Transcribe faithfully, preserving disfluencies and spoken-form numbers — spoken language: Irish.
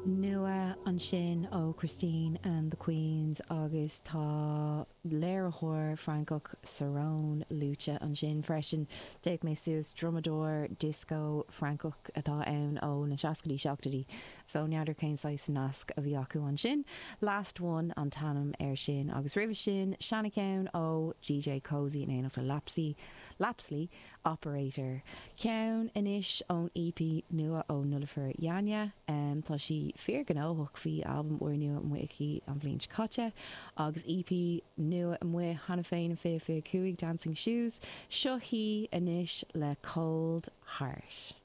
Nua ansin ó Christine and the Queens agus tá léiritheoir Francach Cerrone luaite ansin freisin D'fhéach mé suas drumadóir disco Francach atá ann ó na seascaidí seachtóidí, so n'fheadar cén saghas nasc a bhí acu ansin. Last one an t-ainm air sin agus roimhe sin seancheann ó DJ Koze in éineacht le Lapsy, Lapsley Operator. Ceann anois ón EP nua ó Nilüfer Yanya, um, tá sí fíorghnóthach bhí albam úrnua amuigh aici an bhliain seo caite agus EP nua amuigh cheana féin fiche fiche cúig Dancing Shoes, seo í anois le Cold Heart.